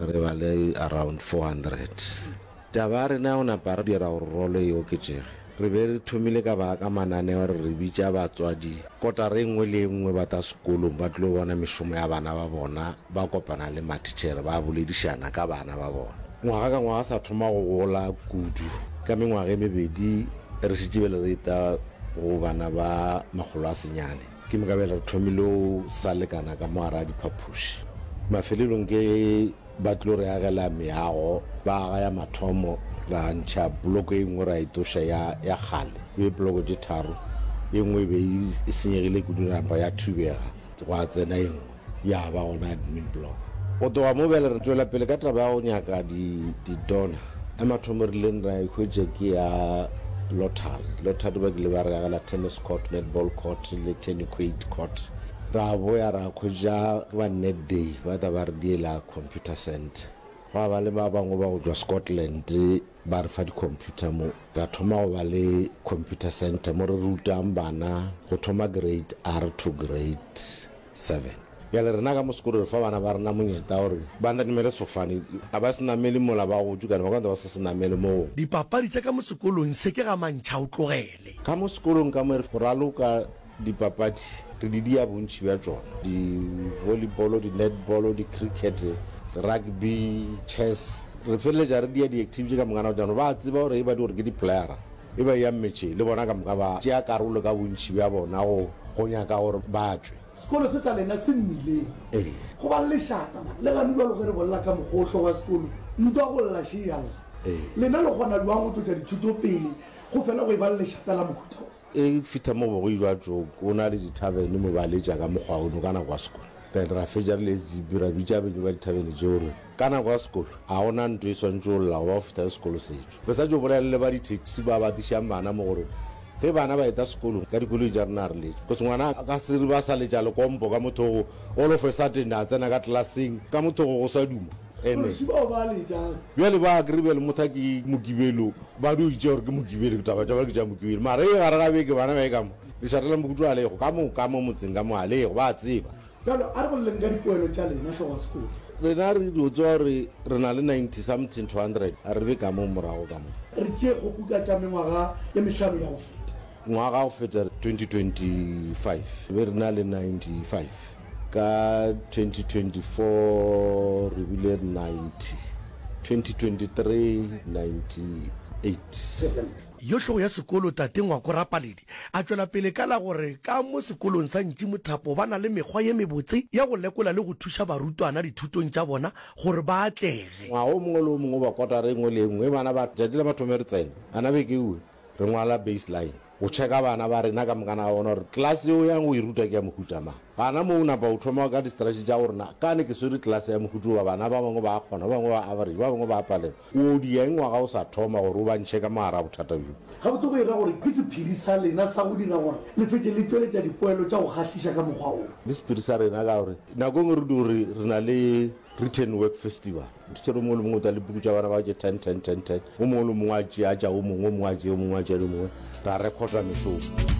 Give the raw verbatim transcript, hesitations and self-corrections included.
Re ba le around four hundred. Taba ya rena ya go napa re dira gore rolo e oketšege. Re be re thomile ka ba ka mananeo re re bitša batswadi kotara e nngwe le e nngwe ba ta sekolong ba tlo bona mešomo ya bana ba bona, ba kopana le mathitšhere ba boledišana ka bana ba bona. Ngwaga ka ngwaga sa thoma go gola kudu. Ka mengwaga e mebedi re šetše bjale re eta go bana ba makgolo a senyane. Ke moka bjale re thomile go sa lekana ka mo gare ga diphapoši. Mafelelong ke ba tlo re agela meago, ba aga ya mathomo, ra ntšha bloko e nngwe ra e toša ya, ya kgale. E be bloko tše tharo, e nngwe e be e senyegile kudu napa ya thubega, gwa tsena e nngwe ya ba gona admin block. Go tloga mo bjale re tšwela pele ka taba ya go nyaka di, di-donor. Ya mathomo re ileng ra e hwetša ke ya lottery. Lottery ba kile ba re agela tennis court, netball court le tenniquate court. Ra boya ra hwetša ba Net Day ba tla ba re diela computer center. Gwa ba le ba bangwe ba go tšwa Scotland ba re fa di-computer mo. Ra thoma go ba le computer center mo re rutang bana go thoma grade R to grade seven. Bjale rena ka mo sekolo re fa bana ba rena monyetla gore ba namele sefofane, a ba se namele mola ba gotše kana ba ka ba sa se namele mo. Dipapadi tša ka mo sekolong se ke ga mantšha o tlogele. Ka mo sekolong ka mo re go raloka dipapadi re di dia bontši bja tšona, di-volleyball, di-netball, di-cricket, rugby, chess. Re feleletša re dia di-activity ka moka nako tša ba tseba gore e ba di gore ke di-playera e ba ya metše le bona ka moka ba tšea karolo ka bontši bja bona go go nyaka gore ba tšwe. Sekolo se sa lena se mmileng. Ee. Go ba le lešata man, le gane bjalo ge re bolela ka mokgohlo wa sekolo, ntwa go lla še ya lla. Ee. Lena le kgona bjang go tšwetša dithuto pele go fela go e ba le lešata la mohuta wo? E fihla mo go go ilwa tšo, go na le dithavene mo ba letša ka mokgwa ono ka nako ya sekolo. Then ra fetša re le S G B ra bitša beng ba dithavene tšeo gore ka nako ya sekolo ga gona ntho e swantše go lla go ba go fihla ge sekolo se tšwa. Re sa tšo bolela le ba di-taxi ba ba tlišang bana mo gore ge bana ba eta sekolong ka dikoloi tša rena re letše. Because ngwana a ka se re ba sa letša lekompo ka motho go all of a sudden a tsena ka classeng ka motho go go sa duma. Ene Kgoši bao ba letšang. Bjale ba kry bjale motho a ke Mokibelo ba dio itše gore ke Mokibelo, taba tša ba ke tša Mokibelo. Mara e gare ga beke bana ba e ka mo lešata la Mokutu a lego ka mo ka mo motseng ka mo a lego ba a tseba. Bjalo a re boleleng ka dipoelo tša lena hlogo ya sekolo. Rena re dio tseba gore re na le ninety something to hundred, a re be ka mo morago ka mo. Re tšee kgopu ka tša mengwaga ye mehlano ya go feta. Ngwaga go feta twenty twenty-five be re na le ninety-five, ka twenty twenty-four re bile ninety, twenty twenty-three ninety-eight. Percent. Yo hlogo ya sekolo tate Ngwako Rapaledi a tšwela pele ka la gore ka mo sekolong sa Ntši Mothapo ba na le mekgwa ye mebotse ya go lekola le go thuša barutwana dithutong tša bona gore ba atlege. Ngwaga o mongwe le o mongwe ba kotara e nngwe le e nngwe bana ba tšatši la mathomo re tsena ana beke ewe re ngwala baseline go checka bana ba rena ka mokana ga bona gore class yeo yang go e ruta ke ya mohuta mang. Gana mo o napa o thoma ka di-strategy tša gore na kane ke swere class ya mohuta oba bana ba bangwe ba kgona, ba bangwe ba average, ba bangwe ba palelwa. O di eng ngwaga o sa thoma gore o ba ntšhe ka mogare a bothata bjo? Gabotse go e ra gore ke sephiri sa lena sa go dira gore le fetše le tšweletša dipoelo tša go kgahliša ka mokgwa wo? Ke sephiri sa rena ka gore nako e nngwe re di gore re na le written work festival. Teacher o mongwe le mongwe o tla le puku tša bana ba tše ten ten ten ten, o mongwe le mongwe a tšea tša o mongwe, o mongwe a tšea, o mongwe a tšea le mongwe, ra recorda mešomo.